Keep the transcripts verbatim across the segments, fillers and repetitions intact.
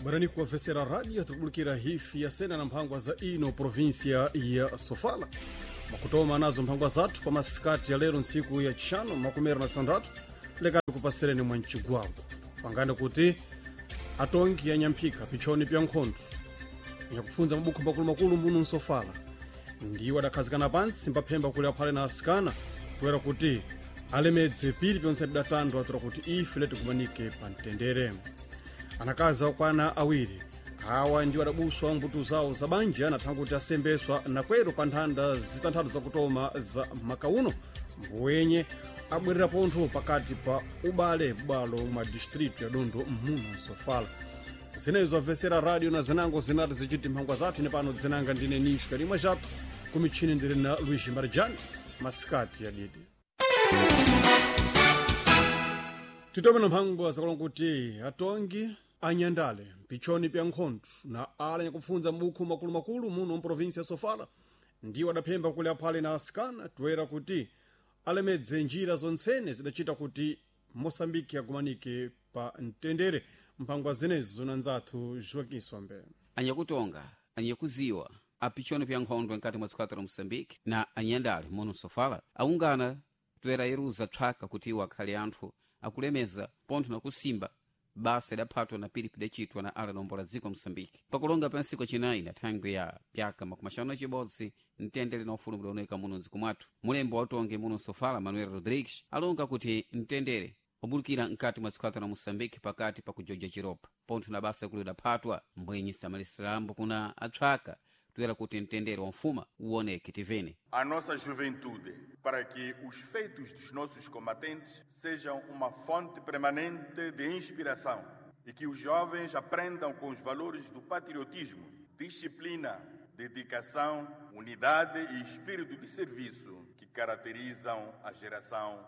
Bwerani kuwavesera radio tikubulukira hifi ya sena na mphangwa za ino provinsia ya Sofala. Makutoma nazo mphangwa zathu pa masikati ya lero ntsiku ya chishanu makumera na sitandatu lekati kupasereni mwa mchigwago pangani kuti atongi ya nyamphika pichoni pya nkhondo yakufunza mabukho makulumakulu muno nsofala ndiwo adakhazikana pansi mbaphemba kuli aphale na asikana kuyera kuti alemedze pili pyonse pidatandwa atura kuti ife letikumanike pa mtendere. Anakazi akwana awiri awa ndiwo adabuswa mbuto zawo za banja nathanga kuti asembeswa nakwero pa nthanda zitanthatu zakutoma za makauno mbuwenye abwerera pontho pakati pa ubale bwalo mwa distritu ya Dondo muno nsofala. Zinezo amvesera radio na zinango zinati zichiti mphangwa zathu ine pano dzinanga ndine Nisho Karimwa Jato kumichini ndili na Luiz Marjani masikati ya didi. Titome na mphangwa zakulonga kuti atongi anyandale mpichoni pya nkhondo na ala nyakufunza mabukhu makulumakulu muno mprovinsi ya Sofala ndiwo adaphemba kuli aphale na asikana toera kuti alemedze njira zontsene zidachita kuti Moçambique agumanike pa mtendere. Mphangwa zinezo na nzathu Joaquim Sombe. Anyakutonga, anyakuziwa, apichoni pya nkhondo nkati mwa dziko la Moçambique na anyandale muno Sofala aungana toera iruza tswaka kuti iwo akhale anthu akulemeza pontho na kusimba basa idaphatwa na pili pidacitwa na ala dombo la dziko Moçambique. Pakulonga pa ntsiku acinayi na thangwi ya pyaka makumi axanu na cibodzi mtendere na ufulu mudaoneka muno mdziko mwathu. Mulembo wa utongi muno Sofala Manuel Rodrigues alonga kuti mtendere wabulukira mkati mwa dziko la Moçambique pakati pa kujoja chiropa pontho na basa kuli udaphatwa mbwenyi samalisrambo kuna atswaka toera kuti mtendere wa mfuma uoneke tivene. A nossa juventude, para que os feitos dos nossos combatentes sejam uma fonte permanente de inspiração e que os jovens aprendam com os valores do patriotismo, disciplina, dedicação, unidade e espírito de serviço que caracterizam a geração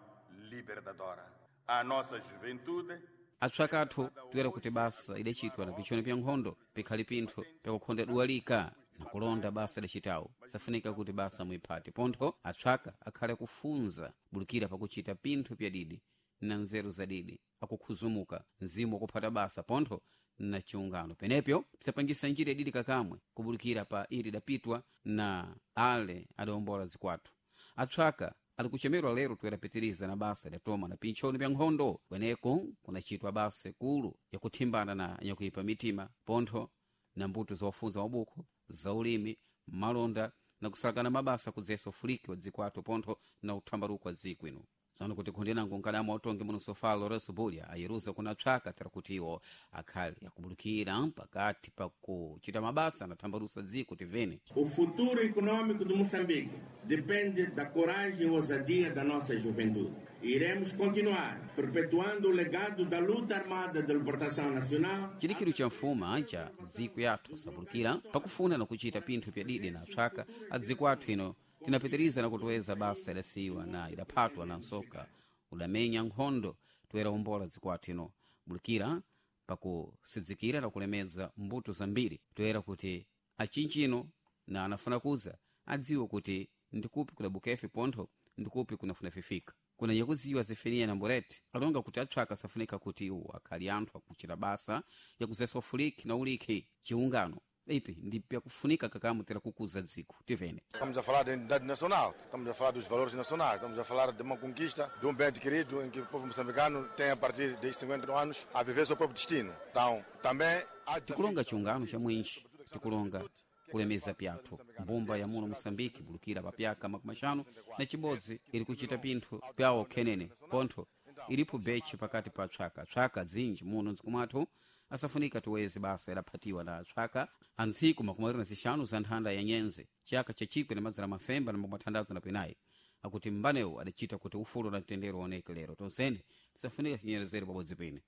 libertadora. A nossa juventude atswakathu toera kuti basa idacitwa na pichoni pya nkhondo pikhali pinthu pyakukhonda duwalika na kulonda basa idacitawo safunika kuti basa muiphate pontho atswaka akhale akufunza bulukira pakuchita pinthu pyadidi na nzeru zadidi akukhuzumuka mzimu wakuphata basa pontho na chiungano penepyo pisapangisa njira ididi kakamwe kubulukira pa ili idapitwa na ale adawombola zikwathu. Atswaka ali kuchemerwa lero toyerapitiriza na basa idatoma na pinchoni pya nkhondo kweneko kunachitwa basa ikulu yakuthimbana na nyakuipa mitima pontho na mbuto zofunza mabukho zaulimi malonda na kusalakana mabasa kudzesa ufuliki wa dziko athu pontho na uthambaruko wa dziko ino. Zano kuti khundi nango nkadamu autongi muno Sofala Lourenço Bulha ayeruza kuna tswaka tera kuti iwo akhale akubulukira pakati pa kuchita mabasa na thambarusa dziko tivene. O futuro econômico de Moçambique depende da coragem e ousadia da nossa juventude. Iremos continuar perpetuando o legado da luta armada de libertação nacional. Chidikiro cha mfuma cha dziko yathu sabulukira pakufuna na kuchita pinthu pyadidi na tswaka a dziko athu ino tinapitiriza na kutoweza basa idasiyiwa na idaphatwa na nsoka udamenya nkhondo toera umbola dziko athu ino bulukira pakusidzikira na kulemedza mbuto zambiri toera kuti achinchino na anafuna kuza adziwe kuti ndikupi kudabuka pontho ndikupi kunafuna fifika. Kuna yakuziwa zefenia na mboreti alonga kuti atswaka safunika kuti iwo akhali anthu akuchita basa yakuzesa ufuliki na uliki chiungano ipi ndi pyakufunika kakamu tera kukuza dziko tivene. Estamos a falar da identidade nacional, estamos a falar dos valores nacionais, estamos a falar de uma conquista, de um bem adquirido em que o povo moçambicano tem a partir desde cinquenta anos a viver seu próprio destino. Então, também há tikulonga chiungano cha mwinji, tikulonga kulemeza pyathu mbumba ya muno Moçambique bulukira pa pyaka makumi axanu na chibodzi iri kuchita pinthu pyawo khenene pontho ilipo bechi pakati pa tswaka tswaka dzinji muno mdziko mwathu asafunika tiweze basa idaphatiwa na tswaka antsiku makumi awiri na zixanu za nthanda ya nyenze chaka cha chikwi na madzana mafemba na makumi athandathu na pinayi akuti mbanewo adacita kuti ufulu na mtendere uoneke lero tonsene tisafunika tinyerezere pabodzi pene.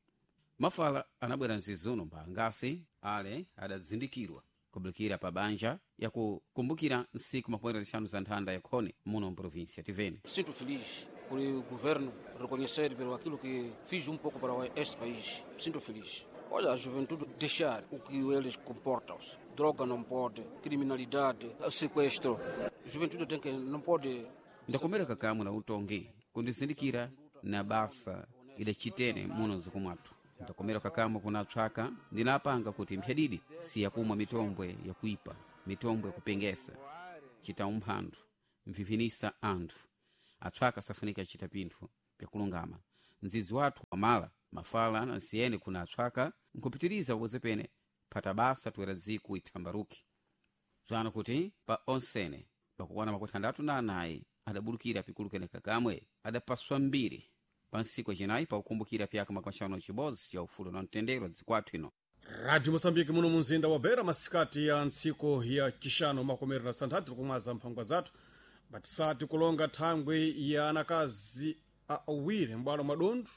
Mafala anabwera mzizuno mbangasi ale adadzindikirwa kubulukira pa banja yakukumbukira nsiku makumi awiri na zixanu za nthanda ya khone muno mprovinsia tivene. Sinto feliz por o governo reconhecer pelo aquilo que fiz um pouco para este país. Sinto feliz. Olha, a juventude deixar o que eles comportam-se. Droga não pode, criminalidade, sequestro. A juventude tem que não pode. Ndakomera kakamu na utongi kundizindikira na basa idacitene muno mdziko mwathu. Ntakomera kakamwe kunatswaka ndinapanga kuti mphyadidi siyakumwa mitombwe yakuipa, mitombwe yakupengesa, chita umphanthu, mvivinisa anthu. Atswaka safunika chita pinthu pyakulungama. Mdzidzi wathu wamala mafala na nsiyene kuna atswaka nkupitiriza pabodzi pene phata basa toera dziko ithambaruki. Bzano kuti pa onsene pakukwana makumi atandatu na anayi adabulukira pikulukene kakamwe adapaswa mbiri pa ntsiku acinayi pakukumbukira pyaka makumi axanu na cibodzi ya ufulu na mtendere wa dziko athu ino. Radio Moçambique muno munzinda wa Beira, masikati ya ntsiko ya chixano makomero na santhatu tikumwaza mphangwa zathu batisati kulonga thangwi ya anakazi awiri m'bwalo mwa dontho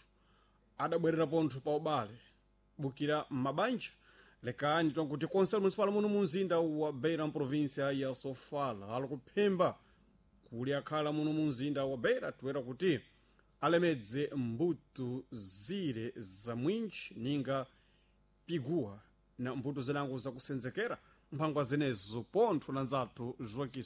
adabwerera pontho pa ubale bukira m'mabanja. Lekani tonkuti konse municipal muno munzinda wa Beira mprovinsia ya Sofala ali kuphemba kuli akhala muno munzinda wa Beira toera kuti alemedze mbuto zire za mwinji ninga piguwa na mbuto zinango zakusenzekera mphangwa zenezo pontho na nzathu Joaquim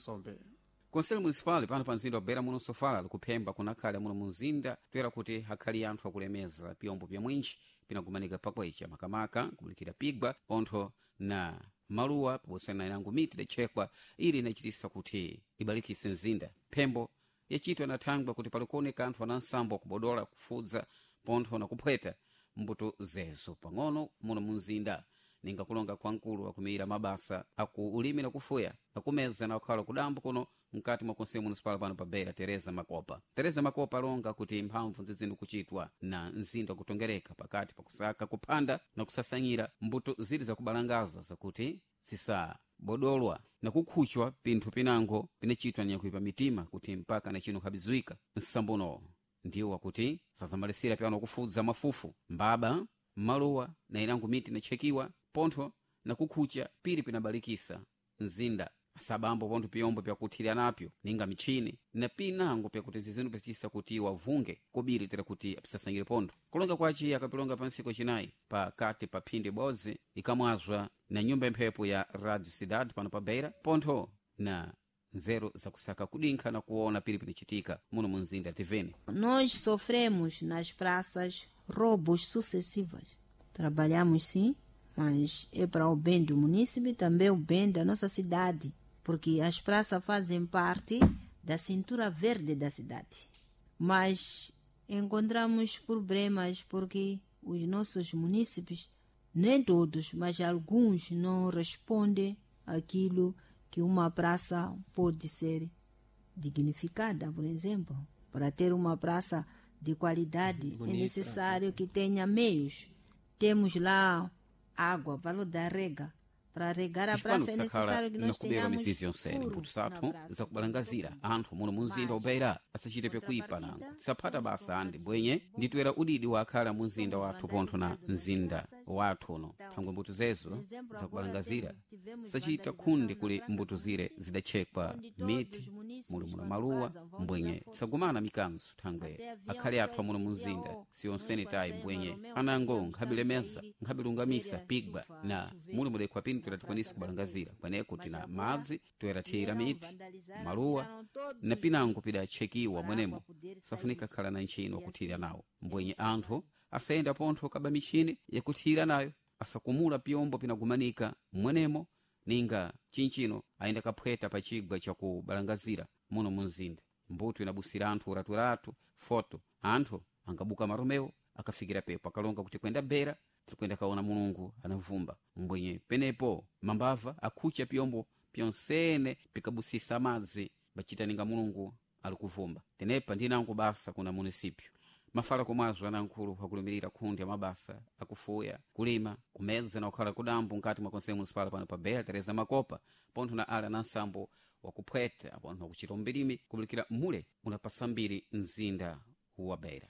Conselho Municipal pano pa mzinda wa Beira muno Sofala likuphemba kunakhale muno munzinda toera kuti akhali anthu akulemeza pyombo pya mwinji pinagumanika pakwecha makamaka kubulikira pigwa pontho na maluwa pabodzi na inango miti idachekwa ili inachitisa kuti ibalikise mzinda. Phembo yachitwa na thangwi kuti palikuoneka anthu ana nsambo akubodola kufudza pontho na kuphweta mbuto zezo pang'ono muno munzinda. Ninga kulonga kwa nkulu akumira mabasa aku ulimi na kufuya akumeza na kukhala kudambo kuno mkati mwa konseyo municipal pano pa Beira Teresa Makopa. Teresa Makopa alonga kuti mphamvu zizinu kuchitwa na mzinda kutongereka pakati pakusaka kuphanda na kusasanyira mbuto zili zakubalangaza zakuti zisabodolwa na kukhuchwa pinthu pinango pinachitwa nyakuipa mitima kuti mpaka na chino khabizuika. Nsambuno ndiwo wakuti sazamalisira pyano kufudza mafufu mbaba maluwa na inango miti inachekiwa pontho na kukhucha pili pinabalikisa mzinda. Sabambo pontho piyombo pyakuthirira napyo ninga michini na pinango pyakuti zizinu pacisa kuti wavunge kobiri tera kuti apisasangire pontho. Kulonga kwaci akapilonga pa ntsiku acinayi pakati pa phindi ibodzi ikamwazwa na nyumba imphepo ya Radio Cidade pano pa Beira pontho na nzeru zakusaka kudinkha na kuona pili pinacitika muno munzinda tivene. Nós sofremos nas praças roubos sucessivos. Trabalhamos sim, mas é para o bem do município e também o bem da nossa cidade, porque as praças fazem parte da cintura verde da cidade. Mas encontramos problemas porque os nossos munícipes, nem todos, mas alguns não respondem àquilo que uma praça pode ser dignificada, por exemplo. Para ter uma praça de qualidade Bonita. É necessário que tenha meios. Temos lá água, valor da rega. Para regar a praça é necessário que nós tenhamos mputu sathu zakubalangazira anthu muno munzinda wa Beira asachite pyakuipa nango tisaphata basa andi bwenye nditoera udidi wakhala munzinda wathu pontho na mzinda wathu uno. Thangwe mbuto zezo zakubalangazira sachita khundi kuli mbuto zire zidachekwa miti muli muna maluwa mbwenye tisagumana mikanzo thangwe akhale athu amuno munzinda siyonsene tayi mbwenye anango nkhabilemeza nkhabilungamisa pigwa na muli mudekhwa pini toera tikwanise kubalangazira kweneko tina madzi toera thiyira miti maluwa na pinango pidachekiwa mwenemo safunika khala na ntchino wakuthirira nawo mbwenye anthu asayenda pontho kaba michini yakuthirira nayo asakumula pyombo pinagumanika mwenemo ninga chinchino ayenda kaphweta pa chigwa chakubalangazira muno munzinda. Mbuto inabusira anthu uraturatu foto anthu angabuka maromewo akafikira pepo akalonga kuti kwenda Beira tirikwenda kaona Mulungu anavumba mbwenye penepo mambava akhucha pyombo pyonsene pikabusisa madzi bachita ninga Mulungu ali kuvumba. Tenepa ndinango basa kuna munisipyo mafala komwazo anankhulu akulumirira khundi ya mabasa akufuya kulima kumedza na kukhala kudambo nkati mwa konseyo municipal pano pa Beira Teresa Makopa pontho na ala na nsambo wakuphweta pontho nakuchita umbirimi kubulikira mule unapasa mbiri mzinda wa Beira.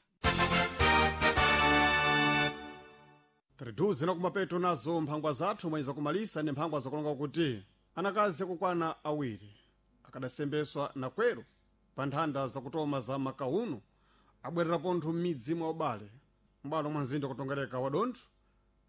Triduze na kumapeto nazo mphangwa zathu mwenye zakumalisa ndi mphangwa zakulonga kuti anakazi akukwana awiri akadasembeswa na kwero pa nthanda zakutoma za makauno abwerera pontho m'midzi mwa ubale m'bwalo mwa mzinda kutongereka wa dontho.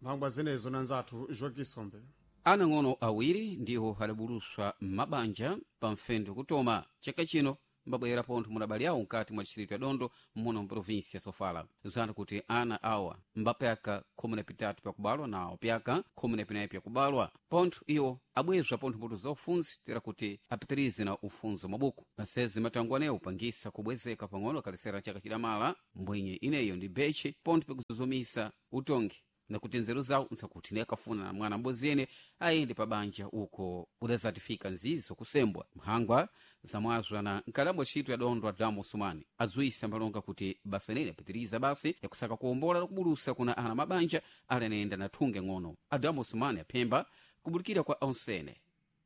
Mphangwa zenezo na nzathu Joaquim Sombe. Anang'ono awiri ndiwo adabuluswa m'mabanja pa mfendo kutoma chaka chino mbabwerera pontho munabali awo mkati mwa distrito ya Dondo muno mprovinsi ya Sofala. Zana kuti ana awa mbapyaka khumi na pitatu pyakubalwa na opyaka khumi na pinayi pyakubalwa pontho iwo abwezwa pontho mbuto za ufunzi tera kuti apitirize na ufunzi wa mabuku masezi matango anewo upangisa kubwezeka pang'ono akalisera chaka chidamala mbwenye ineyo ndi beche pontho pikuzuzumisa utongi nakuti nzeru zawo nsakuti naye akafuna na mwana mboziyene ayende pabanja uko udazatifika nzizo kusembwa mphangwa zamwazwa na nkalamu ntchito ya Dondo Adamu Usumani azuisa mbalonga kuti basa nene apitiriza basi yakusaka kuwombola nakubulusa kuna ana mabanja ali anayenda na thunge ng'ono. Adamu Usumani aphemba kubulikira kwa onsene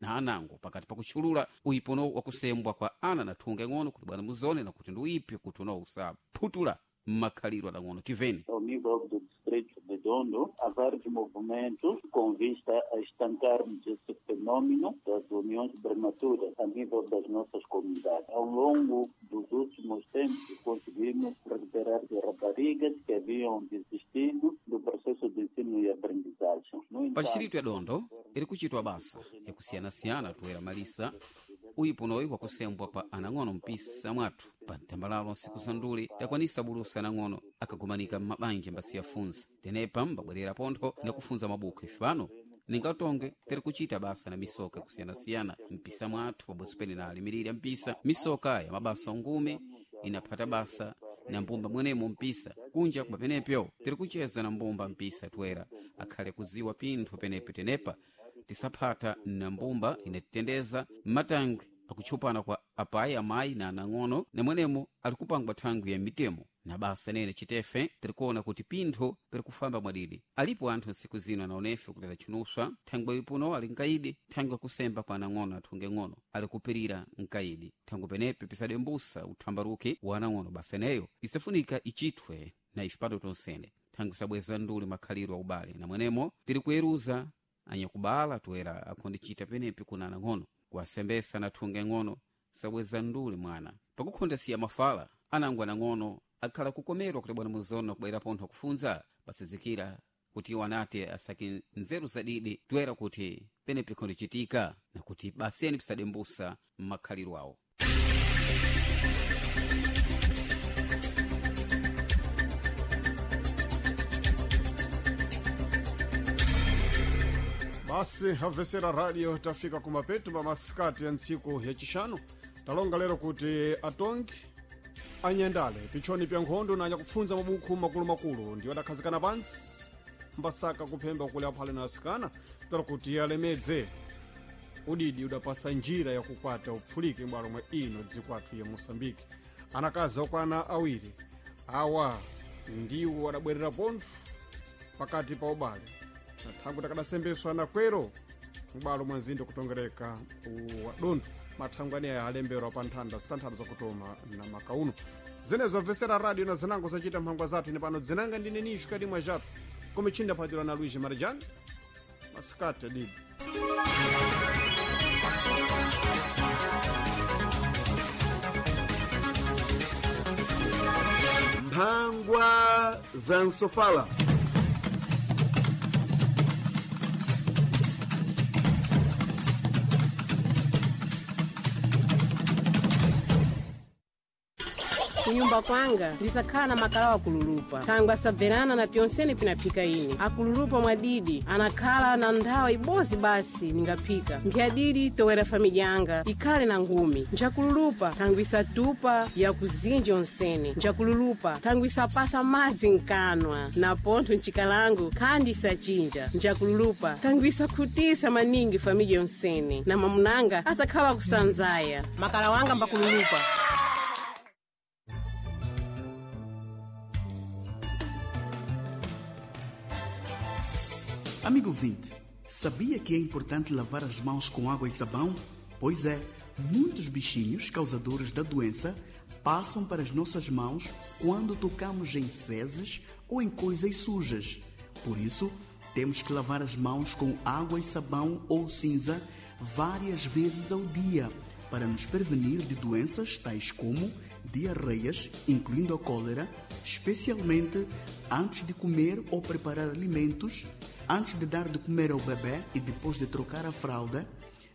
na anango pakati pakutchulula uyipono wakusembwa kwa ana na thunge ng'ono kuti bwana muzone nakuti ndi uyipi kuti uno usaphutula makhalidwe adang'ono tiveni. Ao nível do distrito de Dondo, há vários movimentos com vista a estancarmos esse fenômeno das uniões prematuras a nível das nossas comunidades. Ao longo dos últimos tempos, conseguimos recuperar raparigas que haviam desistido do processo de ensino e aprendizagem. No Pa distrito ya Dondo iri kuchitwa basa yakusiyanasiyana toera malisa uyiponoyi wakusembwa pa anang'ono mpisa mwathu pa mtambalalo nsiku za nduli takwanisa bulusa anang'ono akagumanika m'mabanja mbasiyafunza tenepa mbabwerera pontho nakufunza mabuku ife pano ningatonge tiri kuchita basa na misoka yakusiyanasiyana mpisa mwathu pabodzi pene na alimiriri ya mpisa misoka ya mabasa ungumi inaphata basa na mbumba mwenemo mpisa kunja kuba penepyo tiri kucheza na mbumba mpisa toera akhale kuziwa pinthu penepe tenepa tisaphata na mbumba inatitendeza matangwe akutchupana kwa apayi amayi na anang'ono namwenemo ali kupangwa thangwi ya mitemo na basa nene chitefe tirikuona kuti pintho pirikufamba mwadidi. Alipo anthu nsiku zino anaonefe kuti adatchunuswa thangwe ipuno ali nkaidi thangwe akusemba kwa anang'ono athunge ng'ono ali kupirira nkaidi thangwe penepe pisadembusa uthambaruki wa anang'ono basa eneyo isafunika ichithwe na ife pano tonsene thangwe sabweza nduli makhalidwe a ubale na mwenemo tiri kuyeruza anyakubala toera akhondichita penepi kuna anang'ono kuwasembesa na thunge ng'ono sabweza nduli mwana pakukhonda siya mafala anango anang'ono akhala kukomerwa kuti bwana muzona kubwera pontho akufunza pasizikira kuti iwo anati asake nzeru zadidi toera kuti penepi khondichitika na kuti baseni pisadembusa m'makhalidwe awo. Basi amvesera radio tafika kumapeto pa masikati ya ntsiku yacixanu talonga lero kuti atongi anyandale pichoni pya nkhondo na anyakupfunza mabukhu makulumakulu ndiwo adakhazikana pansi mbasaka kuphemba kule aphale na asikana tero kuti alemedze udidi udapasa njira yakukwata upfulike m'bwalo mwa ino dziko athu ya Moçambique. Anakazi okwana awiri awa ndiwo adabwerera pontho pakati pa ubale na thangwi takadasembeswa na kwero m'bwalo mwa mzinda kutongereka wa Dondo. Mathangwi aneya alemberwa pa nthanda zitanthatu zakutoma na makauno zenezo amvesera radio na zinango zacita mphangwa zathu ine pano dzinanga ndine nixo kati mwa jato komichinda phatira na Luiz Marijani masikati adidi. Mphangwa za Nsofala. Kunyumba kwanga ndisakhala na makalawa akululupa thangwe asabverana na pyonsene pinaphika ine akululupa mwadidi anakhala na nthawi ibozi basi ningaphika nkhyadidi towera famidya yanga ikhale na ngumi njakululupa thangwe isatupa yakuzinja onsene njakululupa thangwe isapasa madzi nkanwa na pontho ncikalango khandi isachinja njakululupa thangwe isakhutisa maningi famidya yonsene na mamunanga asakhala kusanzaya makala wanga mbakululupa. Amigo ouvinte, sabia que é importante lavar as mãos com água e sabão? Pois é, muitos bichinhos causadores da doença passam para as nossas mãos quando tocamos em fezes ou em coisas sujas. Por isso, temos que lavar as mãos com água e sabão ou cinza várias vezes ao dia para nos prevenir de doenças tais como diarreias, incluindo a cólera, especialmente antes de comer ou preparar alimentos, antes de dar de comer ao bebê e depois de trocar a fralda,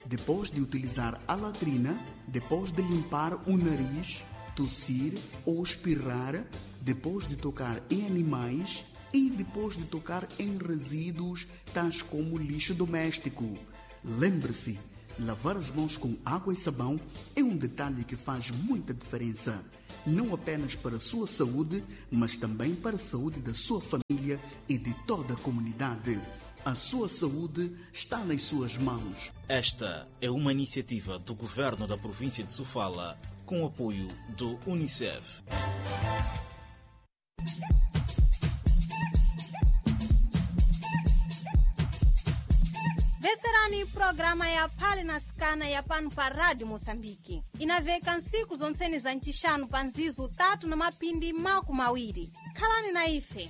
depois de utilizar a latrina, depois de limpar o nariz, tossir ou espirrar, depois de tocar em animais e depois de tocar em resíduos tais como lixo doméstico. Lembre-se, lavar as mãos com água e sabão é um detalhe que faz muita diferença, não apenas para a sua saúde, mas também para a saúde da sua família e de toda a comunidade. A sua saúde está nas suas mãos. Esta é uma iniciativa do governo da província de Sofala com o apoio do Unicef. Veserani programa ya Phale na Sikana ya pano pa Rádio Moçambique. Inaveka nsiku zonsene za ncixanu pa nzizu tatu na mapindi maku mawiri. Khalani na ife.